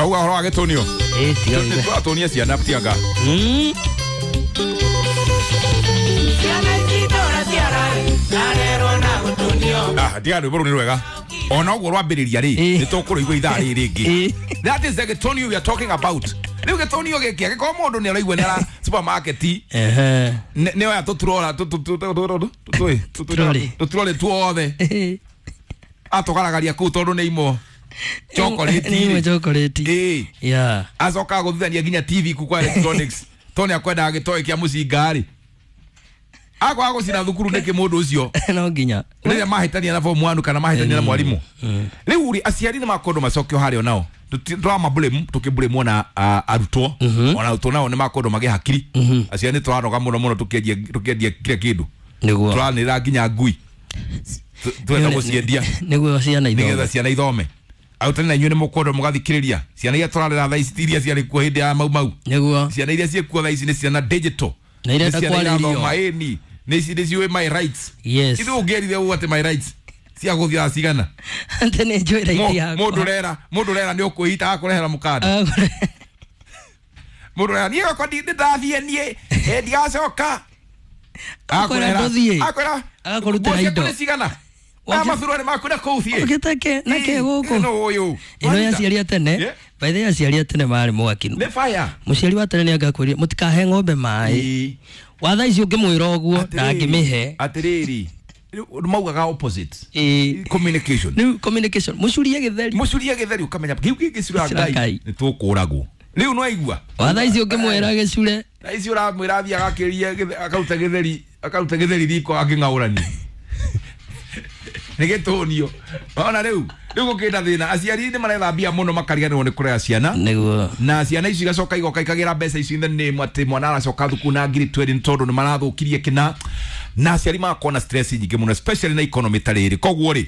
Turauga ũhoro wa gĩtũnio. Ĩ tiga Nĩ tũratũnia ciana tianga. Ah, tiga rwĩmbo rũu nĩ rwega. Ona ũguo rwambĩrĩria rĩ, nĩ tũkũrũigua ithaa rĩrĩ rĩngĩ. That is the gĩtũnio we are talking about. Rĩu gĩtũnio gĩkĩ angĩkorwo mũndũ nĩ araigua nĩ ara supermarket nĩ oya tũturora Tũturori. tũturori tuothe atũgaragaria kũu tondũ nĩ imwe chocolate Nĩ imwe rĩ. chocolate. Ĩĩ. Yeah. Acokaga gũthithania nginya TV kuu kwa electronics tondũ nĩ akwendaga gĩtoĩ kĩa mũcinga rĩ, akwaga gũcina thukuru nĩkĩ mũndũ ũcio? No nginya. Rĩrĩa mahĩtania na form 1 kana mahĩtania na mwarimũ. Rĩu rĩ, aciari nĩ makwendwo macokio harĩa onao. Tũramablame, tũkĩblame ona arutwo, ona arutwo nao nĩ makwendwo magĩe hakiri. Aciari nĩ tũranoga mũno mũno tũkĩendia kila kĩndũ. Nĩguo. Tũranĩrĩra nginya ngui twenda gũciendia Nĩguo ciana nĩgetha ithome. ciana ithome. Arutani na inyuĩ nĩ mũkwendwo mũgathikĩrĩria ciana iria tũrarera thaa ici ti iria ciarĩ kuo hĩndĩ ya mau mau. Nĩguo. Ciana iria ciĩkuo thaa ici nĩ ciana digital. Na irenda Nĩ ciana kwarĩrio. irathoma, ĩni nĩ ciũĩ my rights. Yes. Ithuĩ ũngĩerire ũũ atĩ my rights cia gũthiaga cigana? Atĩ nĩ njũĩ right yakwa. Mũndũ ũrera nĩ ũkwĩhita agakũrehera mũkanda. Mũndũ ũrera niĩ gakwa nĩ ndathiĩ niĩ, ndigacoka. Akwĩra ndũthiĩ. Akwĩra Agakũrutĩra nguo ciaku indo. nĩ cigana? Aya mathurari maku na kũu thiĩ. Ũgĩteke nake gũkũ. No ũyũ. Ĩno ya aciari a tene. Yeah. By the way, aciari a tene marĩ mwaki. Nĩ fire. Mũciari wa tene nĩ angakwĩrire mũtikahe ng'ombe maĩ. Wa thaa ici ũngĩmwĩra ũguo ndangĩmĩhe. Atĩrĩrĩ, rĩu maugaga opposite. Ĩĩ. Communication. Rĩu communication mũcurie gĩtheri. Mũcurie gĩtheri ũkamenya kĩu gĩngĩcura Gĩcura Ngai Ngai. nĩ tũkũragwo. Rĩu no aigua. Wa thaa ici ũngĩmwĩra gĩcure. Thaa ici ũramwĩra athiĩ agakĩrie akaruta gĩtheri riko akĩng'aũrania. Nĩ gĩtũnio. Ona rĩu gũkĩna thĩna, aciari nĩ maretha mbia mũno makariganĩrwo nĩ kũrera ciana. Nĩguo. Na ciana icio igacoka igoka ikagĩra mbeca icio in the name atĩ mwana aracoka thukuru na ngiri 20 nĩ tondũ nĩ marathũkirie kĩna, na aciari magakorwo na stress nyingĩ mũno, especially na economy ta rĩrĩ. Koguo rĩ,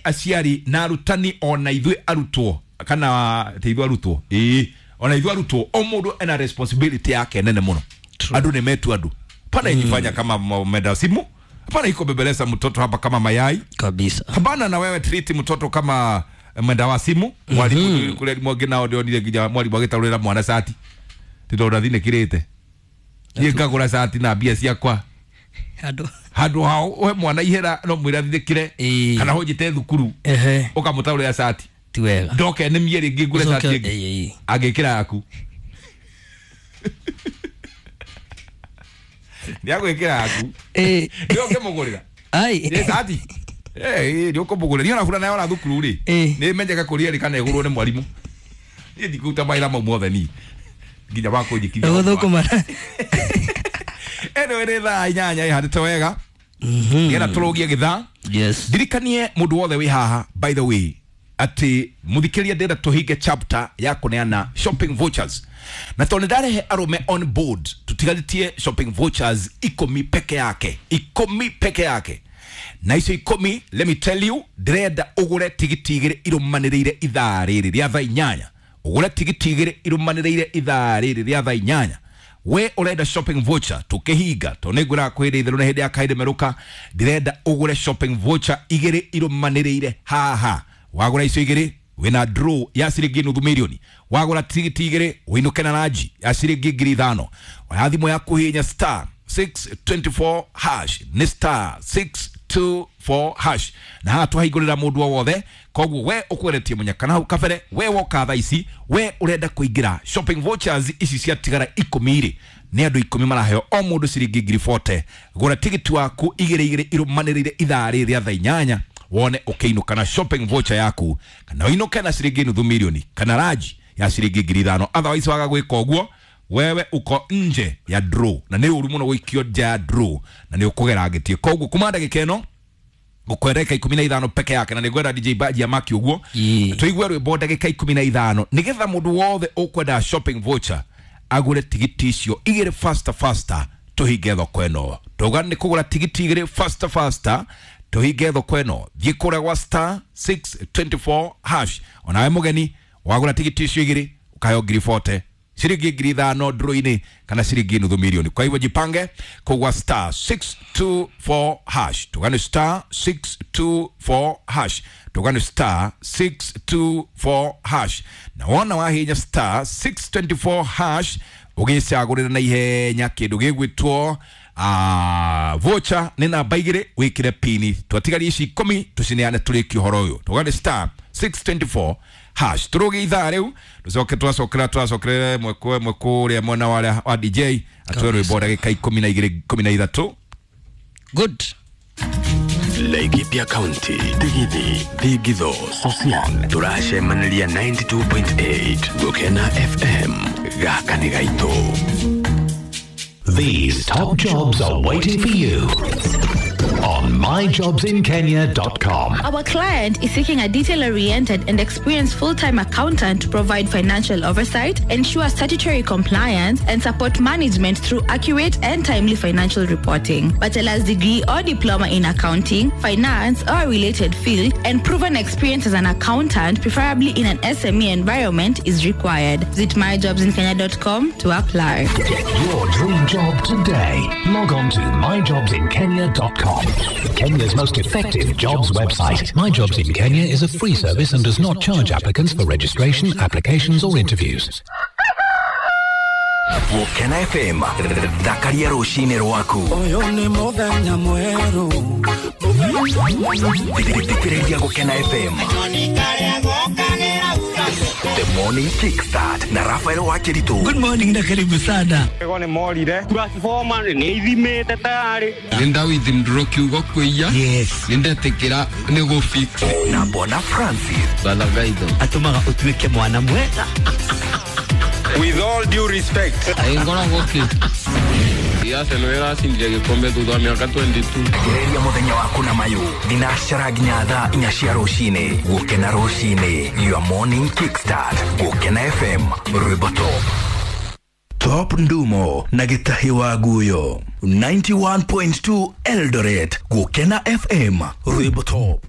aciari na arutani, ona ithuĩ arutwo, kana ti ithuĩ arutwo, ĩĩ, ona ithuĩ arutwo, o mũndũ ena responsibility yake nene mũno. Andũ nĩ metu andũ pana ijifanya kama menda simu, hapana iko bebeleza mtoto hapa kama mayai. Kabisa. Hapana, na wewe treat mtoto kama mwenda wa simu. Mwalimu kule mwangĩ nao ndionire nginya mwalimu agĩtarũrĩra mwana cati ti tondũ athinĩkĩrĩte. Niĩ ngagũra cati na mbia ciakwa. Andũ. Handũ ha ũhe mwana ihera no mwĩre athithĩkĩre kana ũnjĩte thukuru ũkamũtaũrĩra cati. Ti wega. Ndoke nĩ mie rĩngĩ ngũre cati Ũcoke- ĩngĩ. Ĩĩ, ĩĩ. Angĩkĩra yaku, nĩ agwĩkĩra yaku. Nĩ ũngĩmũgũrĩra. Ai. Nĩ cati nĩ ũkũmũgũrĩra. Niĩ ona burana yora thukuru rĩ, nĩ menyaga kũrĩa rĩ kana ĩgũrwo nĩ mwarimũ. Niĩ ndikũruta mawĩra mau mothe niĩ nginya wa kũnjikithia. Gũthũkũma. Anyway, nĩ thaa 8 ĩhandĩte wega nĩgetha tũrũgie gĩthaa. Ndirikanie mũndũ wothe wĩ haha, by the way, atĩ mũthikĩria, ndĩrenda tũhinge chapter ya kũneana shopping vouchers, na tondũ nĩ ndarehe arũme on board, tũtigarĩtie shopping vouchers 10 peke yake, 10 peke yake. Na icio 10, let me tell you, ndĩrenda ũgũre tigiti 2 irũmanĩrĩire ithaa rĩrĩ rĩa thaa 8. Ũgũre tigiti 2 irũmanĩrĩire ithaa rĩrĩ rĩa thaa 8. We ũrenda shopping voucher, tũkĩhinga tondũ nĩ ngwĩraga kwĩ itherũ na hĩndĩ ya kaĩndĩ merũka, ndĩrenda ũgũre shopping voucher 2 irũmanĩrĩire haha. Wagũra icio 2, wĩna draw ya ciringi nuthu mirioni. Wagũra tigiti 2, wĩinũke na ranji ya ciringi 5,000. Oya thimũ yaku, hihinya star 624 hash, nĩ star 624 hash, na haha twahingũrĩra mũndũ o wothe. Koguo we ũkweretie mũnyaka na hau kabere, we woka thaa ici, we ũrenda kũingĩra shopping vouchers ici ciatigara 10 rĩ, nĩ andũ 10 maraheo o mũndũ ciringi ngiri 40. Gũra tigiti waku 2 2 irũmanĩrĩire ithaa rĩrĩ rĩa thaa 8, wone ũkĩinũka na shopping voucher yaku, kana ũinũke na ciringi nuthu mirioni kana ranji ya ciringi 5,000. Otherwise waga gwĩka ũguo, wewe uko nje ya draw, na nĩ ũru mũno gũikio nja ya draw na nĩ ũkũgera ngĩtie. Koguo kuma ndagĩka ĩno ngũkwenda ndagĩka 15 peke yake, na nĩ ngwenda DJ Baji ya maki ũguo tũigue rwĩmbo ndagĩka 15, nĩgetha mũndũ wothe ũkwenda shopping voucher agũre tigiti icio 2 faster faster, tũhinge thoko ĩno. Tauga nĩ kũgũra tigiti 2 faster faster, tũhinge thoko ĩno. Thiĩ kũrĩa gwa star 624 hash. Onawe mũgeni, wagũra tigiti icio 2, ũkaheo ngiri 40. Ciringi 5,000 ndro-inĩ kana ciringi 500,000. Kwa hivyo jipange kugwa star 624 hash. Tugane star 624 hash. Tugane star 624 hash. Na wona wahinya star 624 hash ugicagurira na ihenya kindu gigwitwo voucher ni namba 2 wikire pini twatigaria ici 10 tucineane turikie uhoro uyu. Tugane star 624 hash. Turuge ithaa riu tucoke twacokere mwekwe mwekuria mwena wa DJ atwe rwimbo ndagika 12 13. Good. Laikipia County, Digithi, Digitho, Sosian, turacemaniria 92.8 Gukena FM, gaka nĩ gaitũ. These top jobs are waiting for you on myjobsinkenya.com. Our client is seeking a detail-oriented and experienced full-time accountant to provide financial oversight, ensure statutory compliance, and support management through accurate and timely financial reporting. Bachelor's degree or diploma in accounting, finance, or a related field, and proven experience as an accountant, preferably in an SME environment, is required. Visit myjobsinkenya.com to apply. Get your dream job today. Log on to myjobsinkenya.com. Kenya's most effective jobs website. My Jobs in Kenya is a free service and does not charge applicants for registration, applications or interviews. Gukena FM, thakaria rũcinĩ rwaku. Ũyũ nĩ mũthenya mwerũ. Thikĩrĩria Gukena FM. The Morning Kickstart na Rafael Wakiritu. Good morning na karibu sana. Ego nĩ morire. Transformer nĩ ithimĩte tayari. Nĩ ndawithdraw kiugo kwĩia. Yes. Nĩ ndetĩkĩra nĩ gũ fix. Na Bona Francis. Balagaitho. Atũmaga ũtuĩke mwana mwega. With all due respect. Ngoragwo kĩ? Arsenal ĩracindire gĩkombe thutha wa mĩaka 22. Gereria mũthenya waku na mayũ thinacara nginya thaa 4 cia rũcinĩ. Gũkena rũcinĩ, your morning kickstart. Gũkena FM, rwĩmbo top. Top Ndumo na Gĩtahi wa Guyo 91.2 Eldoret. Gũkena FM, rwĩmbo top.